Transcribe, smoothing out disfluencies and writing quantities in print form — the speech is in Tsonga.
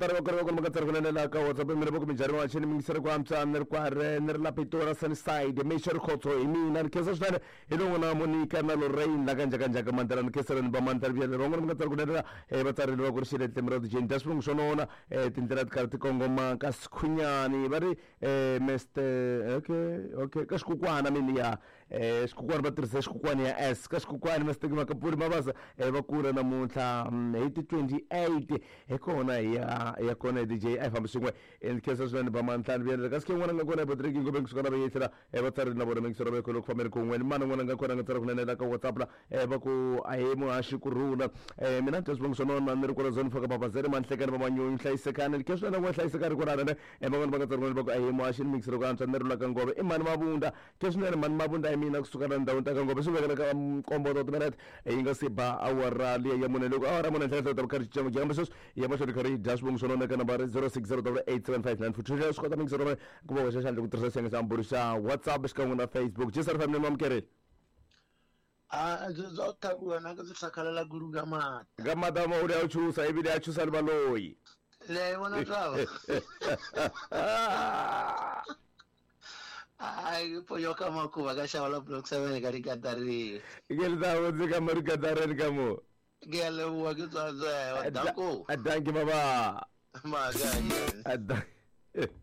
Tari va kona va kona va kunene la ka WhatsApp mina va ku minjhani wa xini mingiseri ku antswa ni ri kware ni ri la Pitori Sunnyside Mixo Rikhotso hi mina ni khensa swinene hi lo n'wina Monica na Lorraine la ka njhaka njhaka mandela ni khenseleni va mandela byele van'wana va nga tsari kunene la va tsarile va ku ri xiletle mira dijeni dya swivongo swo nona tindlela ti karhi ti kongoma ka Sikhunyani va ri Mr okay okay ka xikukwana mini ya xikukwana va tirhisa xikukwana ya S ka xikukwana Mr Makapuri Mabasa va kula namuntlha hi ti 28 hi kona hi ya ya kona hi DJ a hi fambi swin'we ni khensa swinene ba mantlhanu vuyelele kasi ke n'wana nga kona Patrick Ngobeni kusuka na vayehlela va tsarile na vona mingisero va kholo ku fambeni kun'we ni mana n'wana nga kona nga tsala kunene la ka WhatsApp la va ku a hi muhaxi ku rhula mina ni twa swivongo swa nona ni ri kwala zone faka babazeri manhlekani va manyunyu hlayisekani ni khensa swinene n'we hlayisekani kwalano ne van'wana va nga tsala kunene va ku a hi muhaxi ni mingisero ku antswa ni ri la ka Ngove i mhani Mavunda ke swinene mhani Mavunda hi mina kusuka la ndhawini ta ka Ngove swi vekela ka nkombo ta timinete yi nga se ba awara liya ya mune loko awara mune ntlhela ta karhi cinca kambe sweswi ya mahlweni karhi yi dya swivongo swa nona eka nambara 0608875942 swi kota mingisero va ku va hoxa xandla ku tirhisa xiyenge xa mbulu xa WhatsApp xikan'we na Facebook Jesar family mamukerile. A byo bya thakuwa na ndzi hlakhalela gulu ka mata. Ka mata ma uri ya chusa ibile ya chusa le baloyi. Le vona tava. Ai ponyoka makuva ka xava la block 7 ka rikatarini. Ke le ta botse ka mo rikatareni ka mo. Ke a leboha ke tswa tswa danko. Danki baba. Maka. Danki.